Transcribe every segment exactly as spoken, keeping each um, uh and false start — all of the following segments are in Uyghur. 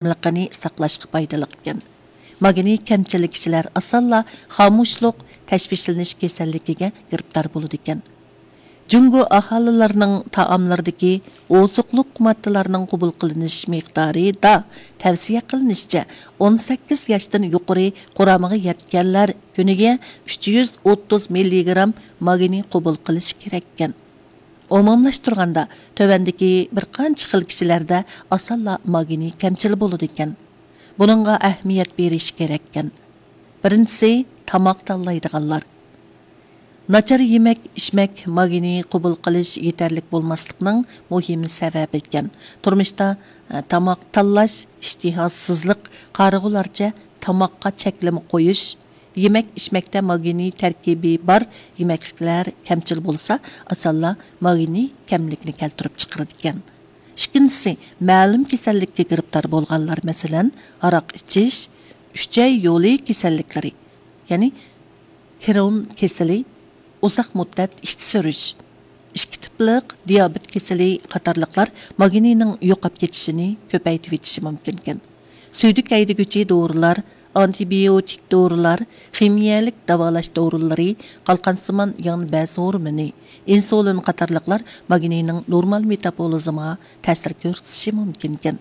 ساغلاملىقىنى ساقلاشقا پايدىلىق ئىكەن. ماگنىي كەمچىللىك كىشىلەر ئاسانلا خامۇشلۇق، تەشۋىشلىنىش كېسەللىكىگە گىرىپتار بولىدىكەن. جۇڭگو ئاھالىلىرىنىڭ تائاملىرىدىكى ئوزۇقلۇق ماددىلارنىڭ قوبۇل قىلىنىش مىقدارىدا تەۋسىيە قىلىنىشىچە، ئون سەككىز ياشتىن يۇقىرى قۇرامىغا يەتكەنلەر كۈنىگە ئۈچ يۈز ئوتتۇز مىللىگرام ماگنىي قوبۇل قىلىشى كېرەككەن. ئومۇملاشتۇرغاندا، تۆۋەندىكى بىر قانچە خىل كىشىلەردە ئاسانلا ماگنىي كەمچىل بولىدىكەن. بۇنىڭغا ئەھمىيەت بېرىش كېرەككەن. بىرىنچىسى، تاماق تاللايدىغانلار. ناچار يېمەك، ئىچمەك ماگنىي قوبۇل قىلىش يېتەرلىك بولماسلىقنىڭ مۇھىم سەۋەبى ئىكەن. تۇرمۇشتا، ئە، تاماق تاللاش، ئىشتىھاسىزلىق، قارىغۇلارچە تاماققا چەكلىمە قويۇش، يېمەك، ئىچمەكتە ماگنىي تەركىبى بار يېمەكلىكلەر كەمچىل بولسا، ئاسانلا ماگنىي كەملىكنى كەلتۈرۈپ چىقىرىدىكەن. ئىككىنچىسى، مەلۇم كېسەللىككە گىرىپتار بولغانلار، مەسىلەن، ھاراق ئىچىش، ئۈچەي يولى كېسەللىكلىرى، يەنى كرون كېسىلى، ئۇزاق مۇددەت ئىچ سۈرۈش، ئىككى تىپلىق دىيابېت كېسىلى قاتارلىقلار ماگنىينىڭ يوقاپ كېتىشىنى كۆپەيتىۋېتىشى مۇمكىنكەن. سۈيدۈك ھەيدىگۈچى دورىلار، ئانتىبىيوتىك دورىلار، خىمىيەلىك داۋالاش دورىلىرى، قالقانسىمان يان بەز ھورمونى، ئىنسۇلىن قاتارلىقلار ماگنىينىڭ نورمال مېتابولىزمغا تەسىر كۆرسىتىشى مۇمكىنكەن.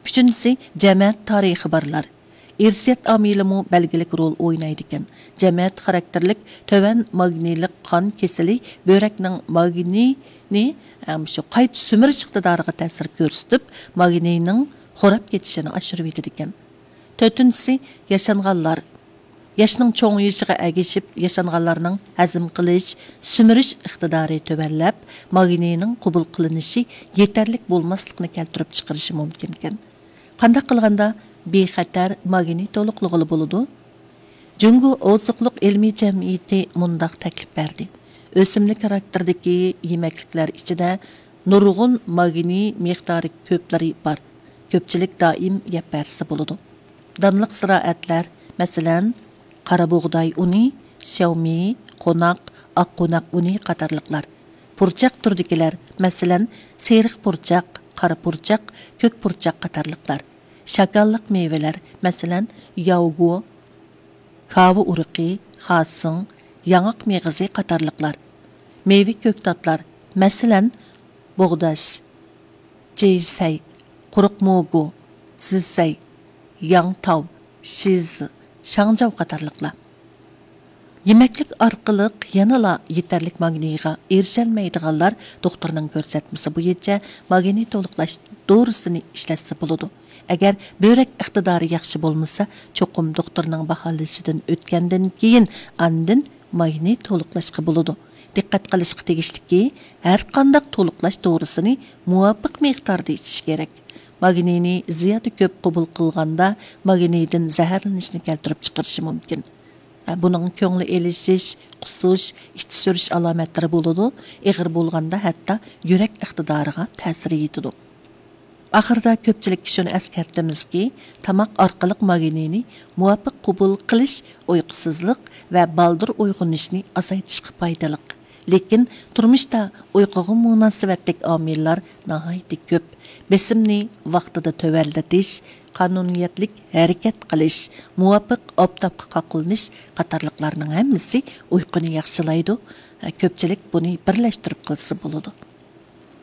ئۈچىنچىسى، جەمەت تارىخى بارلار. ئىرسىيەت ئامىلىمۇ بەلگىلىك رول ئوينايدىكەن. جەمەت خاراكتېرلىك تۆۋەن ماگنىيلىق قان كېسىلى بۆرەكنىڭ ماگنىينى، ئەم، شۇ قايتا سۈمۈرۈش ئىقتىدارىغا تەسىر كۆرسىتىپ، ماگنىينىڭ خوراپ كېتىشىنى ئاشۇرۇۋېتىدىكەن. تۆتىنچىسى، ياشانغانلار. ياشنىڭ چوڭىيىشىغا ئەگىشىپ، ياشانغانلارنىڭ ھەزىم قىلىش، سۈمۈرۈش ئىقتىدارى تۆۋەنلەپ، ماگنىينىڭ قوبۇل قىلىنىشى يېتەرلىك بولماسلىقنى كەلتۈرۈپ چىقىرىشى مۇمكىنكەن. قانداق قىلغاندا بىخەتەر ماگنىي تولۇقلىغىلى بولىدۇ؟ جۇڭگو ئوزۇقلۇق ئىلمىي جەمئىيىتى مۇنداق تەكلىپ بەردى: ئۆسۈملۈك خاراكتېرىدىكى يېمەكلىكلەر ئىچىدە نۇرغۇن ماگنىي مىقدارى كۆپلىرى بار. كۆپچىلىك دائىم يەپ بەرسە بولىدۇ. دانلىق زىرائەتلەر، مەسىلەن، قارا بۇغداي ئۇنى، شياۋمېي، قوناق، ئاق قوناق ئۇنى قاتارلىقلار. پۇرچاق تۈرىدىكىلەر، مەسىلەن، سېرىق پۇرچاق، قارا پۇرچاق، كۆك پۇرچاق قاتارلىقلار. شاكاللىق مېۋىلەر، مەسىلەن، ياۋگو، كاۋا ئۇرۇقى، خاسىڭ، ياڭاق مېغىزى قاتارلىقلار. مېۋە كۆكتاتلار، مەسىلەن، بوغداش، جېيسەي، قۇرۇق موگۇ، زىسەي، ياڭتاۋ، شىز، شاڭجاۋ قاتارلىقلار. يېمەكلىك ئارقىلىق يەنىلا يېتەرلىك ماگنىيغا ئېرىشەلمەيدىغانلار دوختۇرنىڭ كۆرسەتمىسى بويىچە ماگنىي تولۇقلاش دورىسىنى ئىشلەتسە بولىدۇ. ئەگەر بۆرەك ئىقتىدارى ياخشى بولمىسا، چوقۇم دوختۇرنىڭ باھالىشىدىن ئۆتكەندىن كېيىن ئاندىن ماگنىي تولۇقلاشقا بولىدۇ. دىققەت قىلىشقا تېگىشلىكى، ھەرقانداق تولۇقلاش دورىسىنى مۇۋاپىق مىقداردا ئىچىش كېرەك. ماگنىينى زىيادە كۆپ قوبۇل قىلغاندا، ماگنىيدىن زەھەرلىنىشنى كەلتۈرۈپ چىقىرىشى مۇمكىن. بۇنىڭ كۆڭلى ئېلىشىش، قۇسۇش، ئىچ سۈرۈش ئالامەتلىرى بولىدۇ، ئېغىر بولغاندا ھەتتا يۈرەك ئىقتىدارىغا تەسىرى يېتىدۇ. ئاخىرىدا كۆپچىلىككە شۇنى ئەسكەرتىمىزكى، تاماق ئارقىلىق ماگنىينى مۇۋاپىق قوبۇل قىلىش ئۇيقۇسىزلىق ۋە بالدۇر ئويغىنىشنى ئازايتىشقا پايدىلىق. لېكىن تۇرمۇشتا ئۇيقۇغا مۇناسىۋەتلىك ئامىللار ناھايىتى كۆپ. بېسىمنى ۋاقتىدا تۆۋەنلىتىش، قانۇنىيەتلىك ھەرىكەت قىلىش، مۇۋاپىق ئاپتاپقا قاقلىنىش قاتارلىقلارنىڭ ھەممىسى ئۇيقۇنى ياخشىلايدۇ. كۆپچىلىك بۇنى بىرلەشتۈرۈپ قىلسا بولىدۇ.